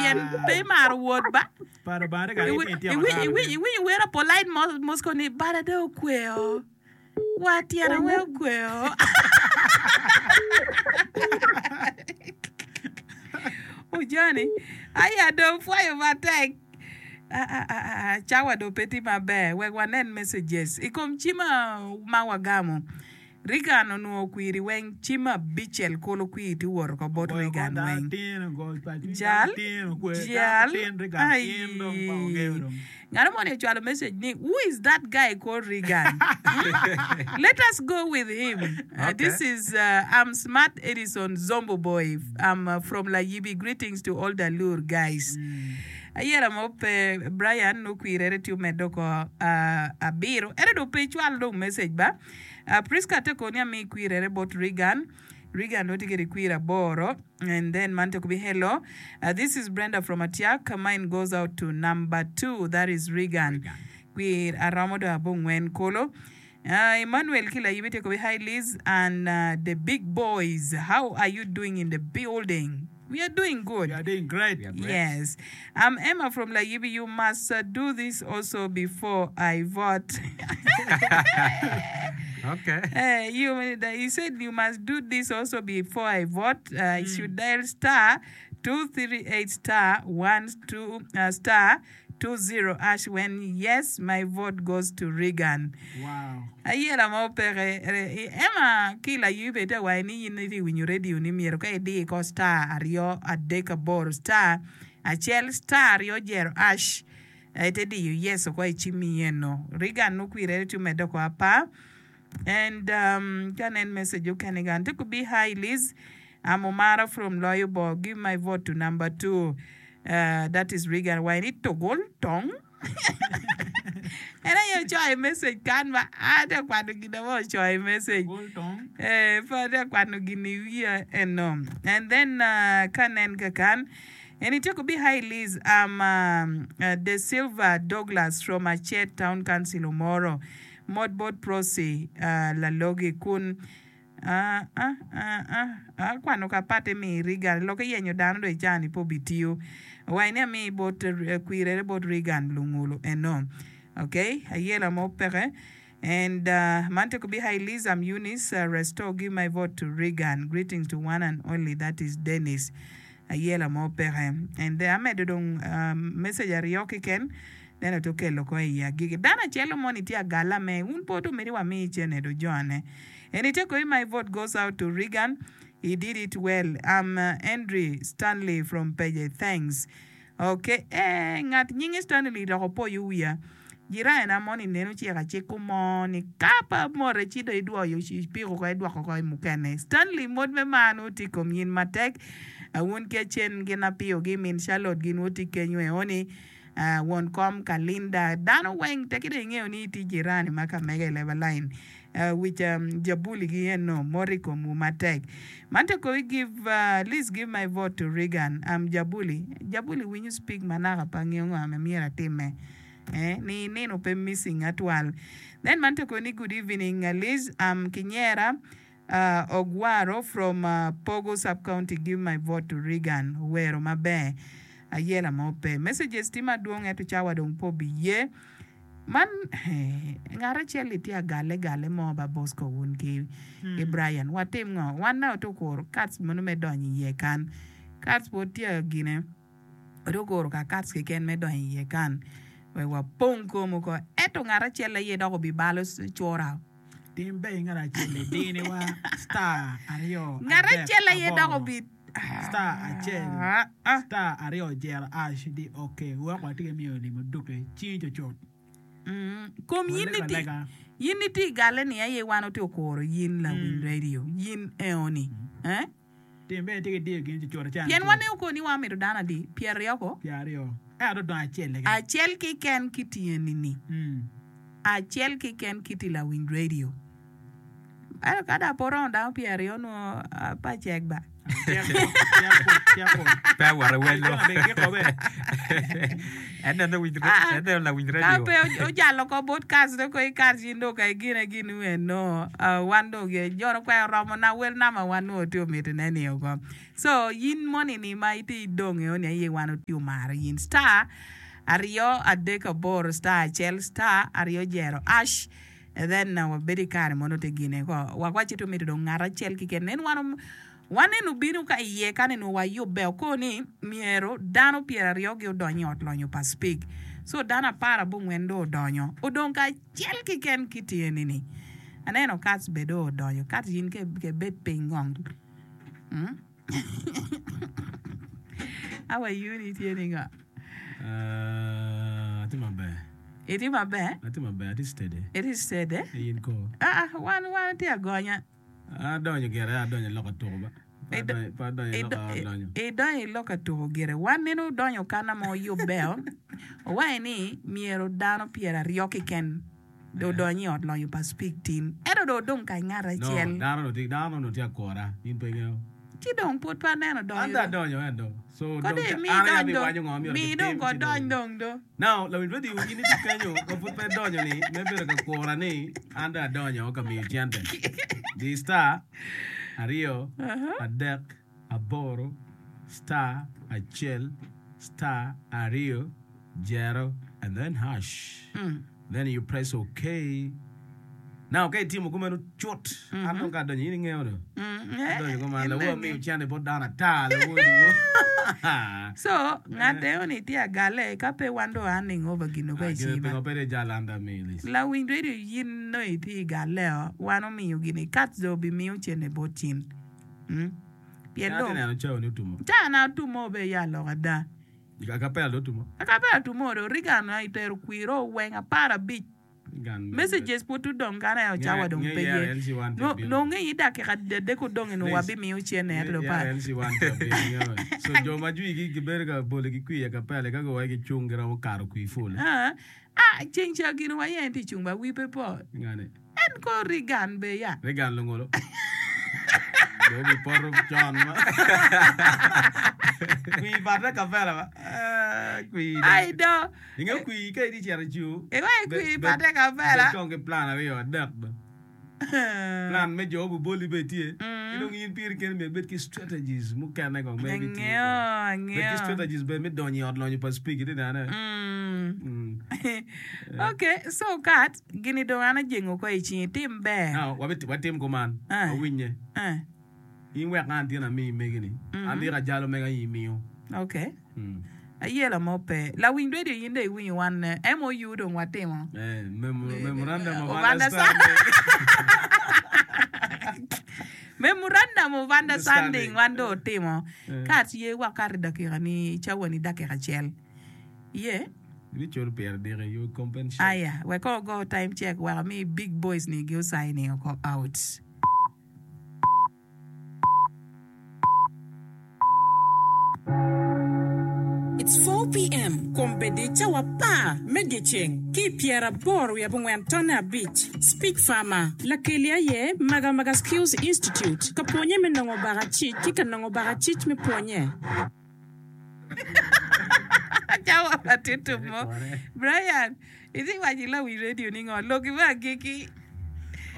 Pien pe imaro wot ba. Pa Lubanga tye ka Iwi- iti ityeko iwi- dano iwi- ni. Iwinyo wera polite mo- Moscow ni bada dong okweo. Wa tyena weng okweo. Ojani, aya dong pwoyo matek. Ah, ah, ah, ah, cawa dong pe tye maber. Wek wanen messages i kom cim ma wagamo. Reagan onwongo okwiri weng cim abicel kulu kwir tye woto ko bot Reagan weng. Jal, jal, aii. Ngat mo ni ocwalo message ni who is that guy called Reagan? Hmm? Let us go with him. Uh, this is uh, I'm Smart Edison Zombo Boy. I'm uh, from Layibi. Greetings to all the lure guys. Ayera mo pe Brian nukwirere tye omedo ko uh, abiro. Ento dong pe icwal dong message ba. Prisca te koni ami kwirere bot Reagan. Reagan dong tye kede kwir aboro and then man te kubi hello this is Brenda from Atiak mine goes out to number 2 that is Reagan. Kwir aromo dong abongwen kolo. Emmanuel ki layibi te kubi hi Liz and the big boys how are you doing in the building? We are doing good. We are doing great. We are great. Yes. I'm Emma from Layibi. You must uh, do this also before I vote. Okay. Eh, you, he said you must do this also before I vote. Uh, You should dial star 238 star 1 2 uh, star 20 ash when yes my vote goes to Reagan. Wow. Ayela mo peke. Emma ki layibi bene tye ka waco ni in itye ka winyo radio ni myero ka idi ko star aryo adek aboro star acel star aryo jero ash ite diyo yes oko i cimmi eno. Reagan okwirere ci omedde oko apar. And um, ka nen message okene gan te kubi hi Liz I'm Omara from Loyo Bor give my vote to number 2 uh, that is Reagan why ni togol tong en aye ocoyo i message kan ma ate kwano gin ame ocoyo i message Togol tong. eh pe ate kwano gin i wiya eno and then uh, ka nen kakan en itye kubi hi Liz I'm uh, uh, De Silva Douglas from Achet Town Council Omoro Mot bot Prossy lalogi kun akwano ka patte mi Reagan lokke yenyo dano do icani pe obitiyo waci ni ami bot kwirere bot Reagan lungulu eno ok ayela mo peke and man tye kubi hi Liz I'm Eunice restore give my vote to Reagan greetings to one and only that is Dennis Ayela mo peke. And then amedo dong message aryo keken then oto kelo ko i agiki. Dano acel moni tye agala me un pe oto miti wa mi cene do jone. And ite koi my vote goes out to Reagan he did it well I'm Andrew Stanley from Peje thanks. Ok eh ngat nyinge Stanley dok opoyo wiya. Jirani-na moni nen ociko aciko mo ni ka pe amote ci dong idwoyo ipiko oko idwoko oko i mukene. Stanley mot me mar nongo tye i kom in matek. Wun ki Acen gin Apiyo-gi, min Charlotte gin wutye kenyo eoni, won kom Kalinda, dano weng teki dong ingeyo ni itye jirani ma ka mege i leba lain. Wic jabuli gi eno mot i komwu matek. Man te koyi give least give my vote to Reagan. I'm jabuli. Jabuli winyo speak ma naka pe angeyo ngo ma myero atime. Eh ni nino pe missing atwal. Then man te koyi ni good evening Liz I'm Kinyera Ogwaro from Pogo sub county give my vote to Reagan owero maber ayela mo pe. Messages tye madwong ento cawa dong pe obiye. Man ngat acel-li tye agalle galle mo ba Bosco wun ki Brian. Watim ngo? Wan nongo watye kuro kats mono me donyo iye kan. Kats pwod tye gine. Watye kuro ka kats keken me donyo iye kan wek wapong kom oko. Ento ngat acel aye dok obibalo cura. Tim ber ngat acel-li diniwa star aryo Ngat adek acel aye dok aboro obi star acel star aryo jero ash di ok wek watye ki miyo limo duke cingi cucut. Kom yin Walego ni tye alega. yin ni tye i galle ni aye wan watye okuro yin lawiny radio yin eoni eh. Tim bene tye ki diyo gin cucut acel Pien acel. waneko koni wan mito dano adi? Pyeraryo ko? Pyeraryo. Ento dong acel keken. Acel keken ki tyeni-ni. Acel keken kiti lawiny radio. Ento ka dong pe oromo dano pyeraryo nongo pe acek ba. Pe awoto i wel mo. En neno lawiny Ka radio. pe ojalo oko bot Kaz dong kong ikat in dong ka igine gin eno wan dong jono kwer oromo na wel nama wan nongo tye omitine ni oko. So in moni ni ma itye idong eo ni aye wan otye omaro in star aryo adek aboro star acel star aryo jero ash then wabedo i kare mono te gine ko wak waci to mito dong ngat acel kiken nen wan wan eno bino ka iye kan eno wayubbe oko ni myero dano pyeraryo gi odony i ot lonyo pa spik so dano aparabongwen dong odonyo odong ka acel kiken ki tyeni ni aneno Kats be dong odonyo Kats in ke bed piny kong. How are you ni tye ni ngo? Uh, atye maber. Itye maber? Atye maber, atye steady. Itye steady? In ko? Ah, ah, wan wan tye agonya. Adonyo gire, adonyo lok atuko ba. Pe adonyo i lok adonyo. Idonyo i lok atuko gire. Wan nene odonyo kana ma oyubbeo, owaco ni myero dano pyeraryo keken. Dong odonyo i ot lonyo pa Speke tin. Ento dong odong ka i ngat acel. No, dano onongo dano onongo tye akura, in pe ingeyo. Ci dong pud pe aneno donyo. An dong adonyo ento. So Ko dong dong imi an aye idony dong. abiwaco ngo myero Mi dong kitim ko ci dong. dony dong do. Now, lawiny radio in itye kenyo ma pud pe idonyo ni me bedo ka kura ni an dong adonyo ka miyo cente. Di star aryo adek aboro star acel star aryo jero and then hash. Then you press ok. Now ka itimo kumeno cut, an dong ka adonyo in ingeyo do. Adonyo kuman lawo amiyo cente bot dano ata lawo diwo. So ngat eo ni tye agale ka pe wan dong handing over gin obe i cima. Pingo pe dong ijal an dong amiyi list. Lawiny radio in nongo itye i galeo wan omiyo gini cut dong obimiyo cente bot cin. Pien Atye dong neno cawa ni otumo. Cawa na otumo be ya lok ada. Akapela dong otumo. Akapela otumo do Reagan aye itero kwiro weng aparabic. Messages pud tudong kany aye cawa dong pe ye. Nonge i dakika adek odong eno wabimiyo cene ento dong pa. So jo ma jwigi gibedo ka bolo ki kwir i akapela ka guwai gicung giromo kato kwir ful. Ah, ceng ca gin wa aye en tye cung ba wi pe po. Ngani. En ko Reagan be ya. Reagan lungolo. Dong obi poto con ma. Kwir bate kapela ba. Eh, kwir. Ai do. Inge kwir ka itye cito i cur. Iwaci kwir bate kapela. Bed kong ki plan aryo adek ba. Plan me jo obuboli bene tye. Ki dong in piri keni myero ibed ki strategies mukene kong ma ibitiyo kwede. Bed ki strategies bene me donyo i ot lonyo pa Speke iti nene. Ok, so kat gini dong an ajengo oko i cingi, tim ber. Now, watim kuman, wawinye. In wek an tin amiyi megi-ni, an diki ajalo mega in imiyo. Ok. Ayela mo pe. Lawiny radio in dong iwinyo wan MOU dong watimo. Eh, memorandum of understanding. Memorandum of understanding wan dong otimo. Ka atye wakato i dakika ni cawa ni dakika acel. Ye. Ibiculo pire diki, you will compensate. Aya, wek kong ogo time check wek ami big boys ni gi osigning oko out. It's 4 PM, Kombeddi cawa apar me dyeceng ki i pyeraboro wiye abongwen tonne abic. Speech Farmer, Lakeli aye Magamaga Skills Institute ka pwonye me nongo bakacic ki ka nongo bakacic me pwonye. Cawa pa tito mo. Brian, itye waco i lawiny radio ni ngo? Loki me agikki.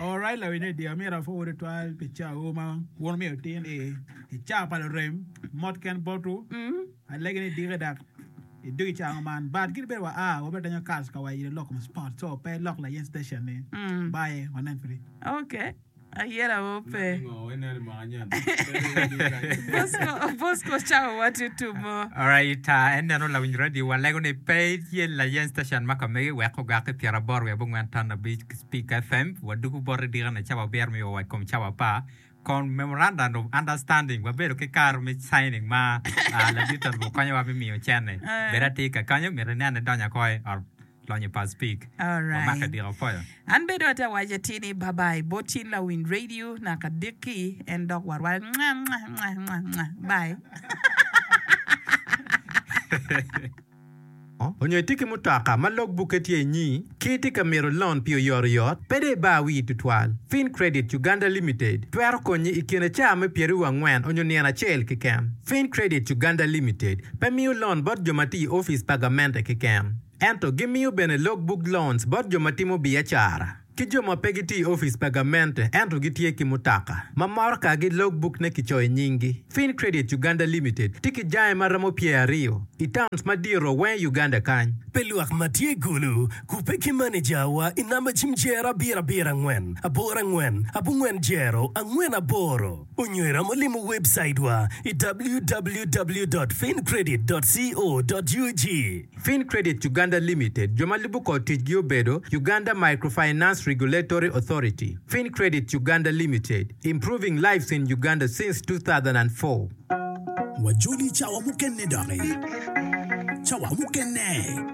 Alright lawiny radio amito apwowu tutwal pi cawu ma wun wumiyo tin i i cawa pa lurem mot ken botwu alegi ni diki dok idug i cawa man but kadi bed wa a wabedo donyo kas ka wa ilo lok kom sport so pe ilok layen station ni bye wanen piri. Okay. Ayera mo pe. Bosco, Bosco cawa wa tye tumo. Alright, uh, en neno lawiny radio walego ni pe itye layen station ma ka megi wek ogak i 85.5 Speak FM wadugu boti dika na cawa abiro miyo wa kom cawa apar kon memorandum of understanding wabedo ki kare me signing ma uh, ladit ot konyowa me miyo cene Eh. bed atir ka kanyo myero inen ni donyo oko i ot lonyo pa Speak. Alright. Wamake dika opwoyo. An bedo atye awaco atir ni bye bye bot cin lawiny radio naka diki en dok warware mwah mwah mwah mwah mwah bye. Onyo itye ki mutoka ma log bukke tye inyi ki itye ka mito loan pi oyotoyot, pe dong ibar wii tutwal. Fincredit Uganda Limited twero konyi i kine caa me pyeraryo angwen onyo nino acel keken. Fincredit Uganda Limited pe miyo loan bot jo ma tiyo i opic pa gamente keken, ento gimiyo bene log book loans bot jo ma timo biacara. Ki jo ma pe gitye i opic pa gamente ento gitye ki mutoka ma motokagi logbuk-ne kicoyo i nyinggi. Fincredit Uganda Limited tye ki jange ma romo pyeraryo i towns madito weng i Uganda kany. Pi lwak ma tye i Gulu, kubbe ki manejawa i namba cim jero abiro abiro angwen aboro angwen abongwen jero angwen aboro onyo iromo limo webcaitwa i www dot fincredit dot co dot ug. Fincredit Uganda Limited, jo ma lubo kor ticgi obedo, Uganda Microfinance Regulatory Authority, Fincredit Uganda Limited, improving lives in Uganda since 2004. Wajoli cawa mukene doki. Cawa mukene.